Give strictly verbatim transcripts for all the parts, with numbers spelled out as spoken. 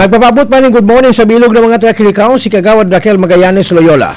Nagpapaabot pa ning good morning sa bilog ng mga taga-Kilikao, si Kagawad Raquel Magallanes Loyola.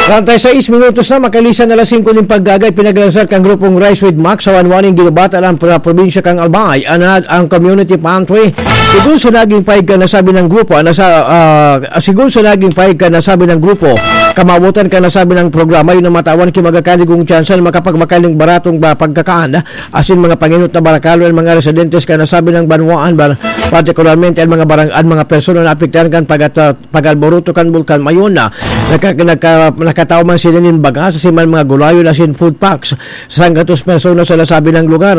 Treinta y seis minutos na, makalisan na alas singko ning paggaga, ipinaglansar kan grupong Rise with Max sa Wanwaning ginubatan ang pro-, probinsya kan Albay, anad ang community pantry. Sigun sa naging pahayag kan nasabi ng grupo, nasa, ah, sigun sa naging pahayag kan nasabi ng grupo, kamawotan kan nasabi ng programa, yun ang matawan ki magakaligong tsansa na makapagmakan ning baratong ba pagkakan, asin mga panginot na barakalo ang mga residentes kan nasabi ng banwaan, bar-, partikularmente ang mga barang-, ang mga persona na apektaran kan pag-, pag-alboroto kan Bulkan Mayon na naka-, naka-, nakataw man sila nin bagas, asin man mga gulayon, asin food packs. Sanggatos personas sa nasabing lugar.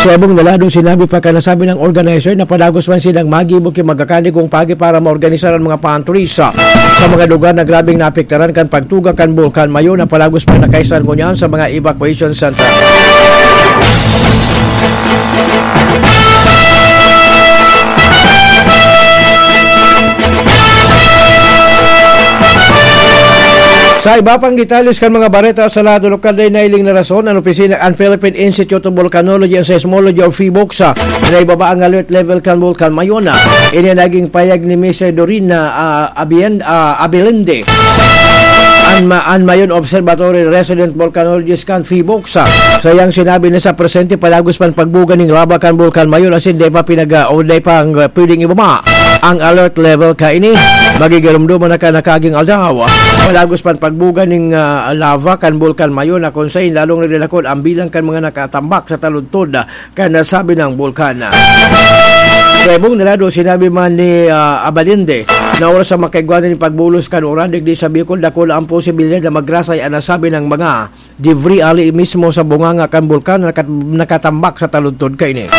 Sa ibong nalado, sinabi pa kan nasabing organizer na padagos man silang magibo ki magakaligong pagi para maorganisar ang mga pantries sa, sa mga lugar na grabeng naapektaran kan pagtuga kan Bulkan Mayon na padagos pa nakaisar ngunyan sa mga evacuation center. Sa iba pang detalles kan mga bareta sa lado lokal, dai nailing na rason an opisina, an Philippine Institute of Volcanology and Seismology o PHIVOLCS, na ibaba ang alert level kan Bulkan Mayon. Ini naging payag ni Mister Dorina, ah, Abien-, ah, Abelende, an ma-, an Mayon Observatory resident volcanologist kan PHIVOLCS. Sa iyang sinabi na sa presente, padagos pa an pagbuga ning lava kan Bulkan Mayon, asin dai pa pinag-, o dai pa ang, ah, pwedeng ibaba ang alert level kaini. Magigiromdoman na kan nakaaging aldaw. Padagos pa an pagbuga ning, ah, lava kan Bulkan Mayon, na kun sain lalong nagdadakul ang bilang kan mga nakatambak sa taludtod kan nasabing bulkan. Sa ibong nalado, sinabi man ni, ah, Abalinde na oras sa makaigwa nin pagbulos kan uran digdi sa Bicol, dakula ang posibilidad na magrasay an nasabing mga debris ali mismo sa bunganga kan bulkan na nakat-, nakatambak sa taludtod kaini.